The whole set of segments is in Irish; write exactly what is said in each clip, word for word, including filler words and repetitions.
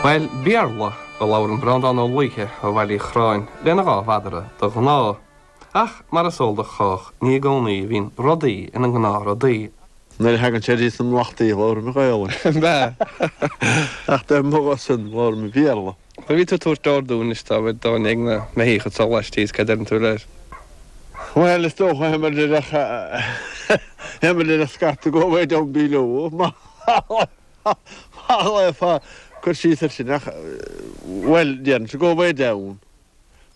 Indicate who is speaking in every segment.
Speaker 1: Bhuel, Béarla a labhrann Breandán Ó Laoithe ó Bhaile Uí Chorráin lena dhá mhadra de ghnáth. Ach mar is eol do chách, ní i gcónaí a bhíonn rudaí ina ngnáthrudaí.
Speaker 2: Nuair a thagann sé dtí na mblachtaí, labhraím Gaelainn.
Speaker 1: Bea.
Speaker 2: Ach dá mbeadh sin, labhraím Béarla.
Speaker 1: Nuair a bhí tú ag tabhairt ordú anois dá bhfuil dá ag na meithíocha atá laistíos, cad a deireann tú leis?
Speaker 2: Bhuel, is dócha théamair lena scata go away down below. Má ghlaofá cur síos air sin ach, bhuel, déarfainnse go away down.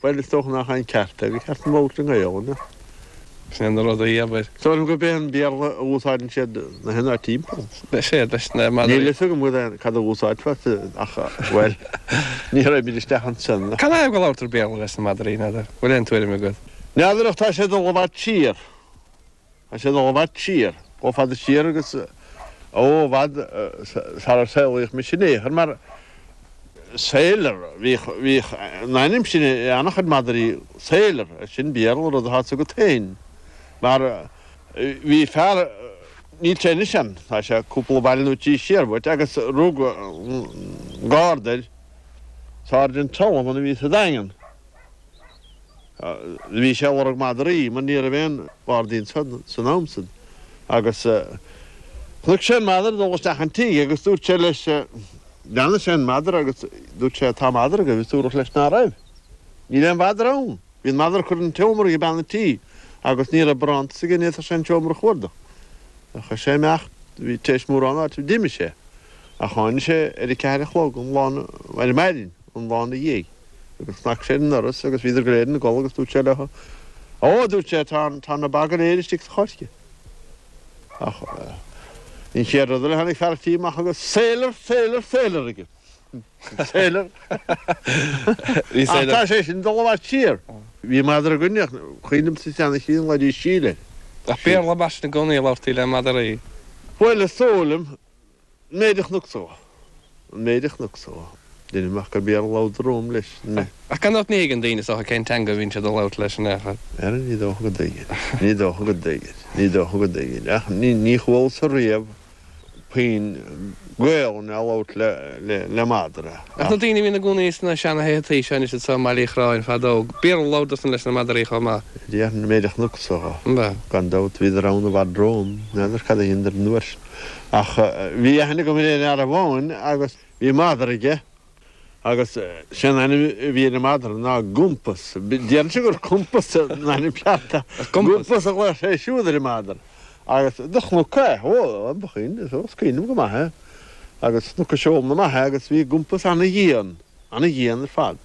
Speaker 2: Bhuel, is dócha nach é an ceart é, gur cheart dom labhairt i nGaelainn.
Speaker 1: Sin é na rudaí, abair.
Speaker 2: Is dóigh liom gurb é an Béarla a úsáideann siad na haon áit timpeall.
Speaker 1: Sea, leis na madraí.
Speaker 2: Níl a fhios agam cad a úsáidfeá ach, bhuel, ní raghaimid isteach ansin.
Speaker 1: Cad é go labhartar Béarla leis na madraí, n'fheadar? Bhfuil aon tuairim agat?
Speaker 2: N'fheadar ach tá sé ag dul i bhfad siar. Tá sé ag dul i bhfad siar. Chomh fada siar agus, ó, i bhfad sarar saolaíodh mise in aon chor mar Sailor, bhíodh, bhíodh an ainm sin ag an-chuid madraí, Sailor, sin Béarla, rud atá agat féin. Mar bhí fear, níl sé anois ann, tá sé cúpla baile nó trí siar uait, agus rug garda air, Sergeant Sullivan a bhí sa Daingean. Bhí sé ag lorg madraí mar ní raibh aon ghardaí ansan san am san. Agus chonaic sé an madra ag dul isteach an tigh agus dúirt sé leis, Bhreathnaigh sé ar an madra agus dúirt sé, Tá madra agaibh agus dúradh leis ná raibh. Níl aon mhadra ann. Bhí an madra curtha ina tseomra ag bean an tí agus ní raibh barántas aige, ní fhéadfadh sé an seomra a chuardach. Chuir sé amach, bhí tar éis mórán áite, d'imigh sé. Ach tháinig sé ar a ceathair a chlog an lá, ar maidin an lá ina dhiaidh agus chnag sé ar an ndoras agus bhíodar go léir ina gcodladh agus dúirt sé leo, Ó, a dúirt sé, tá, tá na ba go léir istigh sa choirce. Ach an chéad rud eile tháinig fear an tí amach agus Sailor, sailor, sailor aige. Sailor. Ach tá sé sin ag dul i bhfad siar. Bhí madra againne ach cuimhin liomsa seana-chinn ghlaoidís Síle air.
Speaker 1: Ach Béarla mar sin i gcónaí a labhartaí le madraí.
Speaker 2: Bhuel, is dóigh liom, an méid a chonacsa dhó. An méid a chonacsa dhó. Deinim amach gur Béarla a labhradar romham leis.
Speaker 1: Ach gan dabht ní thuigeann daoine is dócha cén teanga a bhíonn siad a labhairt leis in aon chor.
Speaker 2: Ara ní dócha go dtuigeann. Ní dócha go dtuigeann. Ní dócha go dtuigeann. Ach ní chualas-sa riamh puinn Gaolainne á labhairt le madra.
Speaker 1: Ach na daoine a bhí ina gcónaí sna seana-thithe seo anois anseo i mBaile Uí Chorráin fadó, Béarla a labhradar-san leis na madraí chomh maith.
Speaker 2: Déarfainn an méid a chonacsa dhó.
Speaker 1: An ea?
Speaker 2: Gan dabht, bhíodar ann i bhfad romham, n'fheadar cad a dheineadar an uair sin. Ach bhí aithne agam ar fhear amháin agus bhí madra aige agus sé an ainm a bhí ar an madra ná Gumpas. Déarfainnse gur Compás an ainm ceart ach Gumpas a ghlaoigh sé siúd ar an madra. Agus do chonac é, ó, ba chuimhin, is cuimhin liom go maith é. Agus chonac a seoladh amach é agus bhí Gumpas ana-dhian, ana-dhian ar fad.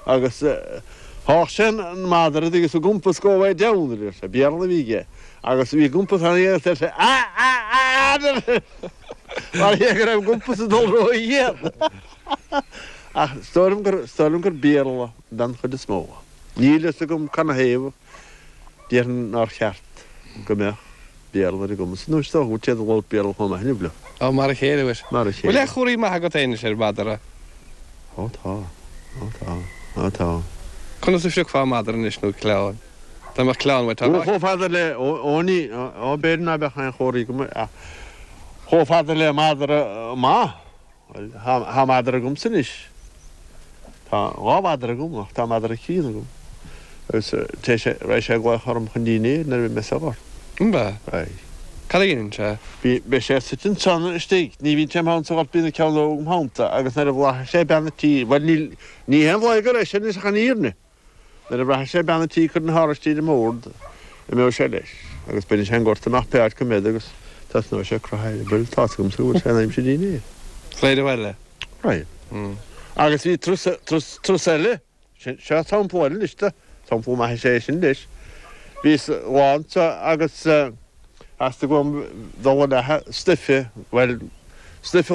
Speaker 2: Agus sháigh sé an madra agus Gumpas go away down, a deir sé, Béarla a bhí aige. Agus bhí Gumpas ana-dhian agus deir sé, a, a, a, a, mar dhea go raibh Gumpas ag dul ró-dhian. Ach is dóigh liom gur, is dóigh liom gur Béarla den chuid is mó. Níl a fhios agam canathaobh, déarfainn nár cheart go mbeadh Béarla ar a gcumas. Nó is dócha go bhfuil siad ag labhairt Béarla chomh maith inniu leo.
Speaker 1: Ó, mar a chéile, mhuis.
Speaker 2: Mar a chéile.
Speaker 1: Bhfuil aon chomharthaí maithe agat féin anois ar mhadra?
Speaker 2: Ó tá. Ó tá. Ó tá.
Speaker 1: Conas a phriocfá madra anois nó cleán? Dá mbeadh cleán uait, tá.
Speaker 2: Ó, chomh fada le, ó, ó ní, ó b'fhéidir ná beadh aon chomharthaí agam ach chomh fada le madra maith. Bhuel, tá madra agamsa anois. Tá dhá mhadra agam ach tá madra críonna agam. Agus téis sé, raghaidh sé ag glaoch orm chun dinnéir nuair a bheidh mé sa ghort.
Speaker 1: An ea?
Speaker 2: Raghaidh.
Speaker 1: Cad a dhéanann sé?
Speaker 2: Bí, beidh sé suite ansan istigh. Ní bhíonn sé im theannta sa ghort, bíonn an ceann óg im theannta agus nuair a bhlaithfidh sé bean an tí, bhuel níl, ní haon bhlaith go raibh sé anois ach an fhírinne. Nuair a bhraithfidh sé bean an tí ag cur na hárasití ar an mbord, imeoidh sé leis, agus bainfidh sé an gort amach pé áit go mbeidh agus tosnóidh sé ag croitheadh air. Bhuel, tá's agamsa go bhfuil sé in aimsir dinnéir.
Speaker 1: Raghaidh abhaile.
Speaker 2: Raghaidh. Agus bhí turas, turas, turas eile, sin, seo sampla eile anois de, sampla maith is ea é sin leis. Bhíos lá anseo agus theastaigh uaim dul ag leathadh stuife, bhuel, stuife